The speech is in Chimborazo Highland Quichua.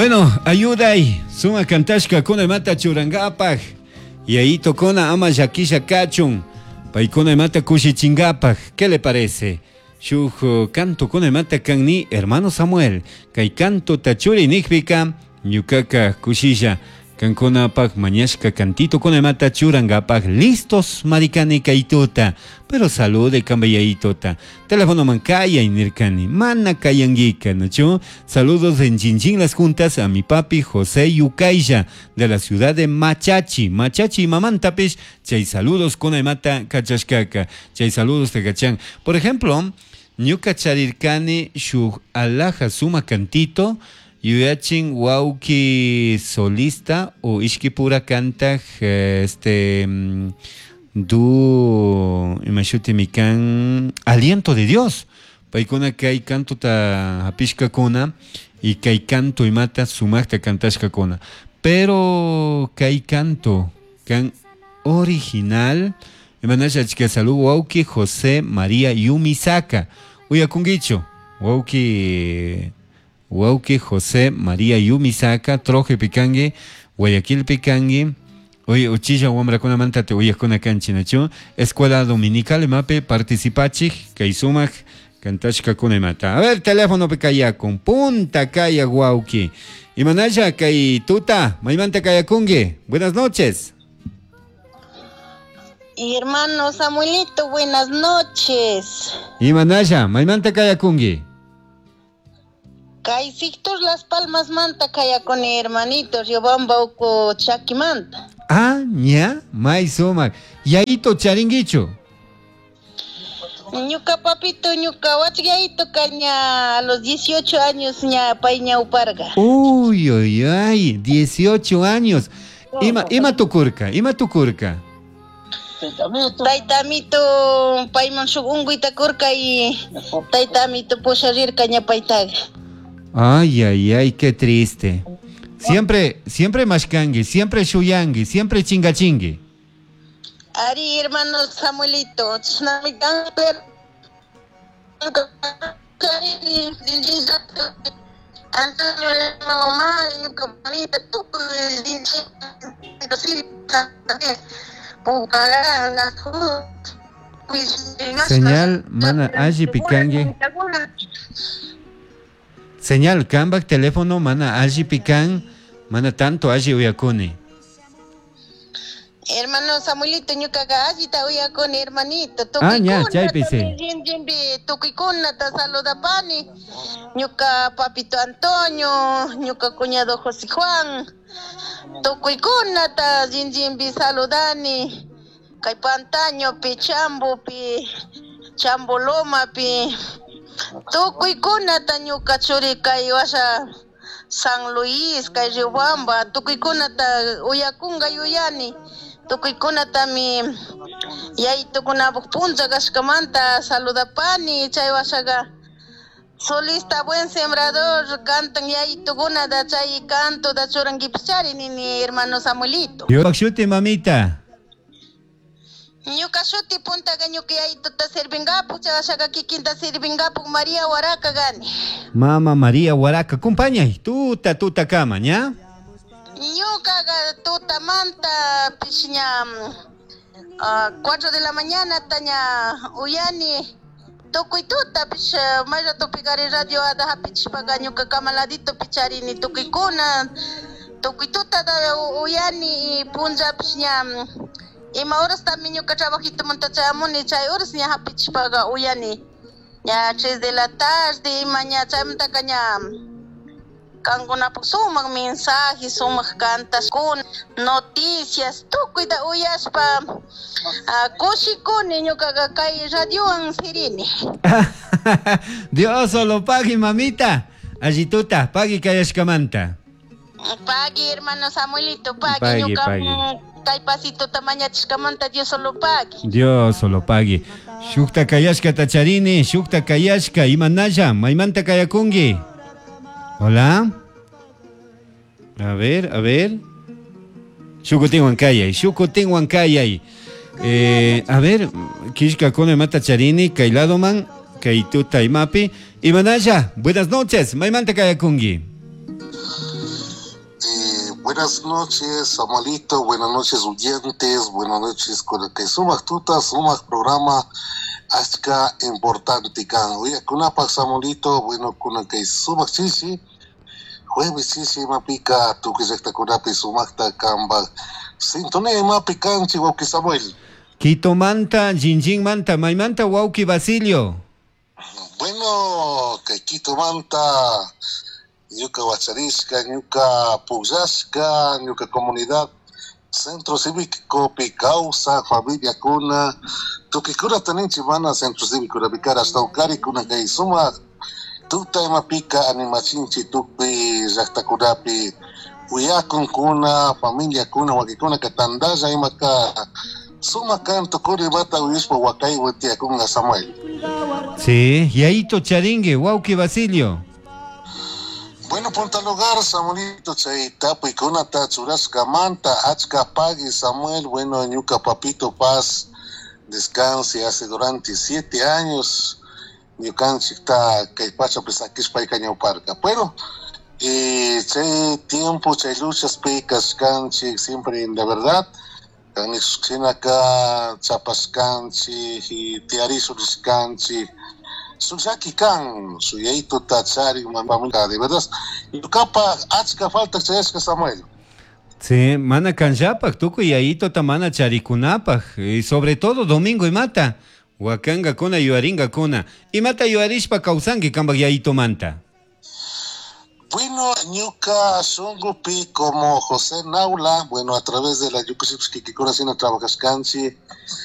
Bueno, ayuday, suma kantashkakuna imata churankapak, yayitokuna ama llakisha kachun, paykuna imata kushichinkapak, ¿qué le parece? Shuk eh, cantokuna imata kanni, hermano Samuel, kay cantota churi nikpika, ñukaka kushilla kankunapak mañashka cantitokuna imata churankapak listos marikani kay tuta, pero salude kamba yayitota. Telefonoman kayay nirkani, mana kayanguika, ¿no? Saludos en Chinchín Las Juntas a mi papi José Yucaya de la ciudad de Machachi. Machachi mamantapish, chay saludos kuna imata kachashkaka, chay saludos te kachan. Por ejemplo, ñuka charirkani shuk alhaja suma cantito, yuyachin wawki solista o ishkipura kantaj este du imashutimi kan aliento de Dios. Paykuna kay cantota hapishkakuna y kay canto imata sumakta kantashkakuna. Pero kay canto kan original imanasha achka salud wawki José María Yumisaka. Uyakunkichu wawki wawki José María Yumisaka Troje pikanki Guayaquil pikanki Oye, uchilla wamrakunamanta te uyakuna kanchik nachu Escuela Dominical imapi participachik kay sumak kantashkakuna imata. A ver, teléfono pi kayakun punta kayak wawki. Imanasha kay tuta maymanta kayakunki. Buenas noches. Hermano Samuelito, buenas noches. Imanasha, maymanta kayakunki. Kay sector Las Palmas manta kayakuni hermanito, Riobamba uku chakimanta. Ah, ña, may sumak. Yayito charinkichu. Ñuka papito, ñuka wachgayito kaña a los 18 años ña pay ñawparga. Uy, uy, ay, 18 años. Ima, ima tukurka, ima tukurka. Tayta amito payman shuk unkuyta kurka y tayta amito pusharirka ña paytaga. Ay, ay, ay, qué triste. Siempre, siempre mashkangi, siempre shuyangi, siempre chingachingui. Ari, hermano Samuelito, chashnami kan, pero Antonio mamá, ñuka mamita, tukuy Señal, mana alli pikangi. Señal, kambak teléfono mana alli pikan, mana tanto alli uyakuni. Hermano Samuelito, ñukaqa allita uyakuni, hermanito. Ah, ña, chaypi sí. Tukuykunata saludapani. Ñuka papito Antonio, ñuka cuñado José Juan. Tukuykunata rinrinpi saludani. Kay Pantañopi, Chambopi, Chambolomapi. Tukuykunata ñuka churi kay washa San Luis, kay Riobamba, tukuykunata uyakunga yuyani. Tukuykunatami yayitukunapuk puncha kashkamanta saludapani chay washaqa solista buen sembrador cantan yayitukunata chay cantota churankipischari nini hermano Samuelito. Shuti mamita. Ñuka shuti puntaqa ñuka yayituta sirvinkapuk chay washaqa kikinta sirvinkapuk María Huaraca gani. Mama María Huaraca, acompañay, tuta tuta kama, ña? Ñukaqa tutamanta pish ña 4 de la mañana taña uyani tukuy tuta pish may ratopi kari radio ada hapichishpaka ñuka kamaladito picharini tukuykuna tukuy tuta uyani y punllapish ña ima horastami ñuka trabajitomanta chayamuni chay horas ña hapichishpaka uyani ña 3 de la tarde ima ña chaymantaka ña kankunapuk sumak mensaje, sumak kantashkuna, noticias, tukuyta uyashpa kushikuni ñukaqa kay radiowan sirini. Dios solo pagui, mamita. Allituta, pagui kayashkamanta. Pagui, hermano Samuelito, pagui. Pagui, ñuka pagui. kay pasitota mañachishkamanta Dios solo pagui. Dios solo pagui. Shukta kayashka tacharini, shukta kayashka, imanalla, maymanta kayakunki. Hola. A ver, a ver. Shukutin wankayay, shukutin wankayay. A ver, kishka kone mata charini, kay ladoman, kay tuta imapi. Imanalla, buenas noches, maymanta kayakunki. Buenas noches, Samuelito. Buenas noches, oyentes. Buenas noches, con el que sumaq tuta, sumaq programa, achka importante kan. Uyakunapak Samuelito, bueno, con el que sumaq chishi, jueves chishi imapika, tukuy llaqtakunapi sumaqta kanpak. Sintonía imapi kanchik, wawqi Samuel. Quitomanta, Jinjinmanta, maymanta wawqi Basilio. Bueno, kay Quitomanta, ñuka wacharishka, ñuka pukllashka, ñuka comunidad, centro cívico kawsaj, familiakuna, tukuykuna ninchik mana centro cívico rapikara hasta kuna kay sumaq tuta imapika animachinchik tukuy llaqtakunapi uyakunkuna, familiakuna, wakikunaka tantalla imaka sumaq kan tukuri imata uyashpa wakaywan tiyakunka Samuel. Sí, yayito charinki, wawqi Basilio. Bueno, punta lugar, Samuelito, chay tapuykunata churashkamanta, achka pagui Samuel, bueno, ñuka papito paz, descanse hace durante 7 años, ñukanchikta kay pachapi sakishpayka ñawparka. Pero, chay tiempo, chay luchaspi kashkanchik, siempre en la verdad, shinaka chapashkanchik y tiyarishurishkanchik, shuk llaki kan, shuk yayituta charik mamá, de verdad, ñukapa achka falta chayashka Samuel. Sí, mana kanllapak, tukuy yayituta mana charikunapaj, y sobre todo domingo imata, wakankakuna yuyaringakuna, imata yuyarishpa kawsanki kanpak yayitumanta. Bueno, ñuka shunkupi como José Naula, bueno, a través de la ñukanchik kikikuna shina trabajashkanchik.